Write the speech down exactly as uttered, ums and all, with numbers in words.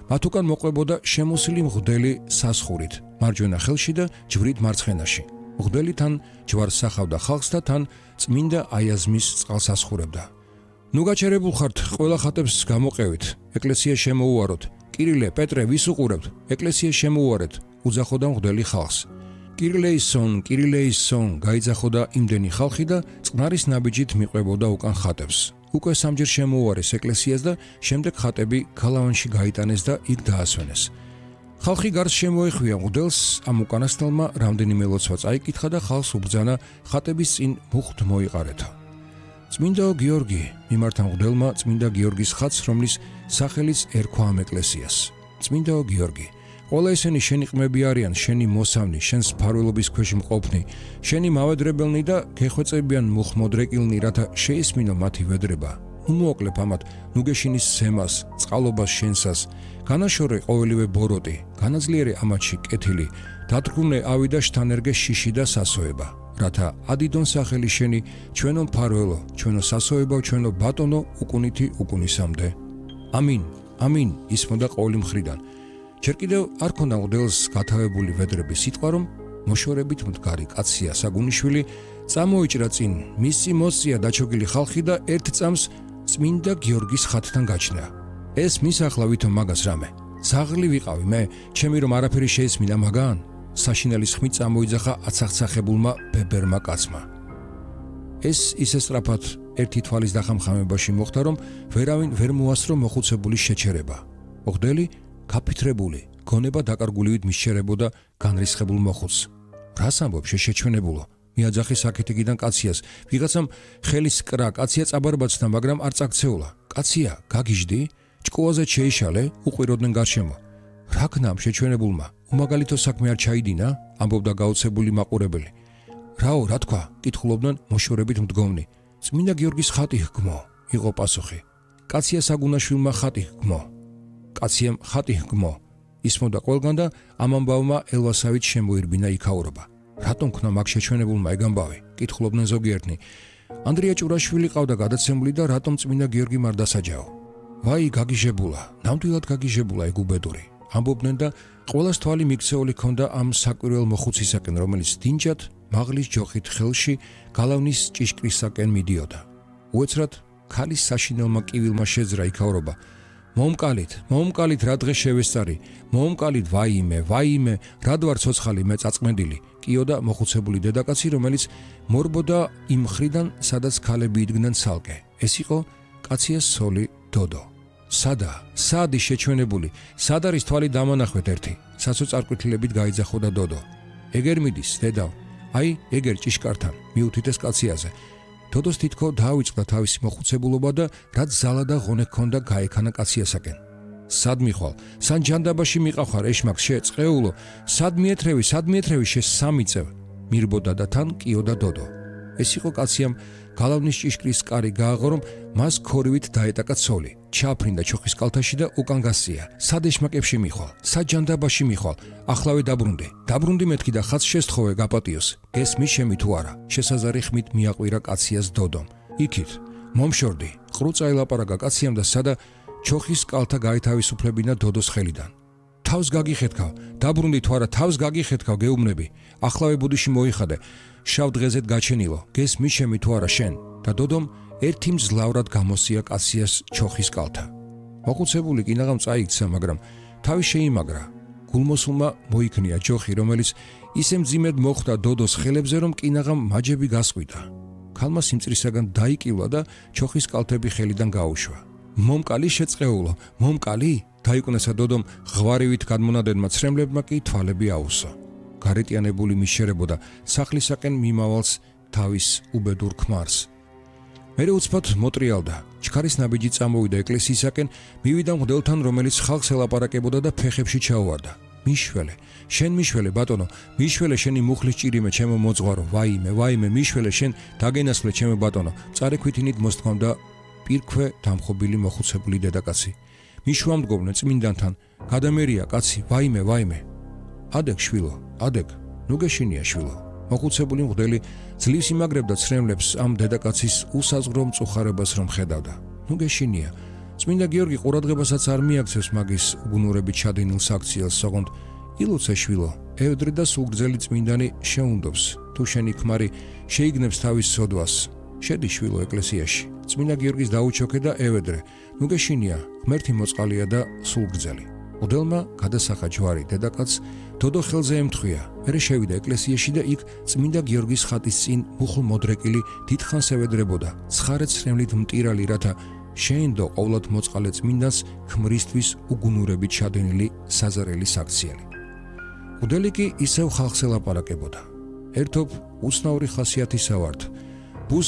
მათ უკან მოყვებოდა შემოსილი მღვდელი სასხურით, მარჯვენა ხელში და ჯვრით მარცხენაში. მღვდელი თან ჯვარს სახავდა ხალხს და თან წმინდა აიაზმის წყალს ასხურებდა. ნუ გაჩერებულ ხართ, ყველა ხატებს გამოყევით, ეკლესია შემოუაროთ. კირილე, პეტრე, ვის უყურებთ? ეკლესია შემოუარეთ, უძახოდა მღვდელი ხალხს. კირილეისონ, კირილეისონ, გაიძახოდა იმდენი ხალხი და წყნარის ნაბიჯით მიყვებოდა უკან ხატებს. უკვე სამჯერ შემოუარეს ეკლესიას და შემდეგ ხატები გალავანში გაიტანეს და იქ დაასვენეს. ხალხი გარს შემოეხვია მღვდელს, ამ უკანასკნელმა რამდენიმე ლოცვა წაიკითხა და ხალხს უბრძანა ხატების წინ მუხტ მოიყარეთა. წმინდაო გიორგი, მიმართა მღვდელმა წმინდა გიორგის ხატს, რომლის სახელიც ერქვა ამ ეკლესიას. წმინდაო გიორგი, ყველა ესენი შენი ყმები არიან, შენი მოსავნი, შენს მფარველობის ქვეშ მყოფნი, შენი მავედრებელნი და გეხვეწებიან მუხმოდრეკილნი, რათა შეისმინო მათი ვედრება. უმოკლებ ამათ ნუგეშინის სემას, წყალობას შენსას, განაშორე ყოველივე ბოროტი, განაძლიერე ამათში კეთილი, დათრგუნე ავი და შთანერგე შიში და სასოება. რათა ადიდონ სახელი შენი, ჩვენო მფარველო, ჩვენო სასოებო, ჩვენო ბატონო, უკუნითი უკუნისამდე. ამინ, ამინ, ისმოდა ყოველი მხრიდან. ჯერ კიდევ არ ქონდა მღვდელს გათავებული ვედრების სიტყვა, რომ მოშორებით მდგარი კაცია საგუნიშვილი წამოიჭრა წინ, მისი მოსწია დაჩოგილი ხალხი და ერთ წამს წმინდა გიორგის ხატთან გაჩნდა. ეს მის ახლა ვითომ მაგას რამე? ზაღლი ვიყავი მე, ჩემი რომ არაფერი შეესმინა მაგან? საშინელის ხმით წამოიძახა აცახცახებულმა ბებერმა კაცმა. ეს ისე სწრაფად ერთი თვალის დახამხამებაში მოხდა, რომ ვერავინ ვერ მოასწრო მოხუცებული შეჩერება. მღვდელი გაფითრებული, გონება დაკარგულივით მისჩერებოდა განრისხებულ მოხუცს. რას ამბობ შეჩვენებულო? მიაძახი საკეთიკიდან კაციას. ვიღაცამ ხელის კრა კაცია წაბარბაცდა, მაგრამ არ წაქცეულა. კაცია, გაგიჟდი? ჭკუაზე შეიშალე, უყვიროდნენ გარშემო. რა ქნამ შეჩვენებულმა? უმაგალითო საქმე არ ჩაიდინა? ამბობდა გაოცებული მაყურებელი. რაო, რა თქვა? კითხულობდნენ მოშორებით მდგომნი. წმინდა გიორგის ხატი ჰგმო, იყო პასუხი. კაცია საგუნაშვილმა ხატი ჰგმო. კაციამ ხატი ჰგმო. ისმოდა ყველგან და ამ ამბავმა ელვასავით შემოირბინა იქაურობა. რატომ ქნა მაგ შეჩვენებულმა ეგ ამბავი? კითხულობდნენ ზოგიერთნი. ანდრია ჭურაშვილი ყავდა გადაცემული და რატომ წმინდა გიორგი არ დასაჯაო? ვაი, გაგიჟებულა, ნამდვილად გაგიჟებულა ეგ უბედური. ამბობდნენ და ყველას თვალი მიქცეული ქონდა ამ საკვირველ მოხუცისაკენ, რომელიც დინჯად მაღლის ჯოხით ხელში გალავნის ჭიშკრისაკენ მიდიოდა. უეცრად ქალის საშინელმა კივილმა შეძრა იქაურობა. მომკალით, მომკალით რა დღე შევესწარი, მომკალით ვაიმე, ვაიმე, რად ვარ ცოცხალი მე წაწმენდილი, კიოდა მოხუცებული დედაკაცი, რომელიც მორბოდა იმ მხრიდან, სადაც ქალები იდგნენ ცალკე. ეს იყო კაციას ცოლი დოდო. სადა, სადი შეჩვენებული, სად არის თვალი დამანახვეთ ერთი, საცოწარკვეთილებით გაიძახოდა დოდო. ეგერ მიდის, დედავ, აი, ეგერ ჭიშკართან, მიუთითეს კაციაზე. დოდოს თითქო დაავიწყდა თავისი მოხუცებულობა და რაც ზალა და ღონე ჰქონდა გაექანა კაციასაკენ. სად მიხვალ, სან ჯანდაბაში მიყავხარ ეშმაკს შე წყეულო, სად მიეთრევი, სად მიეთრევი შე სამი წევ, მირბოდა და თან კიოდა დოდო. ეს იყო კაციამ გალავნის ჭიშკრის კარი გააღო, რომ მას ქორივით დაეტაკა ცოლი, ჩააფრინდა ჩოხის კალთაში და უკან გასწია. სად ეშმაკებში მიხვალ, სად ჯანდაბაში მიხვალ, ახლავე დაბრუნდი, დაბრუნდი მეთქი და ხაც შესთხოვე გაპატიოს. გესმის შემი თუ არა? შესაზარი ხმით მიაყვირა კაციას დოდომ. იქით, მომშორდი, ყრუწა ელაპარაკა კაციამ და სადა ჩოხის კალთა გაითავისუფლებინა დოდოს ხელიდან. თავს გაგიხეთქავ, დაბრუნდი თუ არა, თავს გაგიხეთქავ, გეუბნები. ახლავე ბუდიში მოიხადე, შავ დღეზეთ გაჩენილო, გესმის შემი თუ არა შენ? და დოდომ ერთი მძლავრად გამოსია კაციას ჩოხის კალთა. მოხუცებული კინაღამ წაიქცა, მაგრამ თავი შეიმაგრა. გულმოსულმა მოიქნია ჯოხი, რომელიც ისე მძიმედ მოხვდა დოდოს ხელებზე, რომ კინაღამ მაჯები გასყვიდა. ქალმა სიმწრისაგან დაიკილა და ჩოხის კალთები ხელიდან გაუშვა. მომკალი შეწყეულო, მომკალი? დაიკვნესა დოდომ ღვარივით გადმონადენმა ცრემლებმა კი თვალები აუსო. გარეტიანებული მიშერებოდა სახლისაკენ მიმავალს თავის უბედურ ქმარს. მერე უცბად მოტრიალდა, ჩქარის ნაბიჯი წამოვიდა ეკლესიისაკენ, მივიდა მღვდელთან, რომელიც ხალხს ელაპარაკებოდა და ფეხებში ჩაუვარდა. მიშველე, შენ მიშველე ბატონო, მიშველე შენი მუხლის ჭირიმე ჩემო მოძღვარო, ვაიმე, ვაიმე, მიშველე შენ დაგენასვლე ჩემო ბატონო, წარექვითინით მოსთქვამდა პირქვე დამხობილი მოხუცებული დედაკაცი. მიშუამდგომნე წმინდანთან, გადამერია კაცი, ვაიმე, ვაიმე. ადეკ შვილო, ადეკ, ნუ გეშინია შვილო. მოხუცებული მღვდელი ძლივს იმაგრებდა ცრემლებს ამ დედაკაცის უსაზღრო მწუხარებას რომ ხედავდა. ნუ გეშინია, წმინდა გიორგი ყურადღებასაც არ მიაქცევს მაგის უგუნურებით ჩადენილ საქციელს, ოღონდ ილოცე შვილო, ევედრე და სულგრძელი წმინდანი შეუნდობს, თუ შენი ქმარი შეიგნებს თავის სოდვას. შედი შვილო ეკლესიაში. წმინდა გიორგის დაუჩოქე და ევედრე, ნუ გეშინია, ღმერთი მოწყალია და სულგრძელი. მღვდელმა გადასახა ჯვარი დედაკაცს, დოდო ხელზე ემთხვია, მერე შევიდა ეკლესიაში და იქ წმინდა გიორგის ხატის წინ მუხლ მოდრეკილი დიდხანს ევედრებოდა, ცხარე ცრემლით მტირალი, რათა შეენდო ყოვლად მოწყალე წმინდანს ქმრისთვის უგუნურებით ჩადენილი საზარელი საქციელი. მღვდელი კი ისევ ხალხს ელაპარაკებოდა. ერთობ უცნაური ხასიათისა ვართ,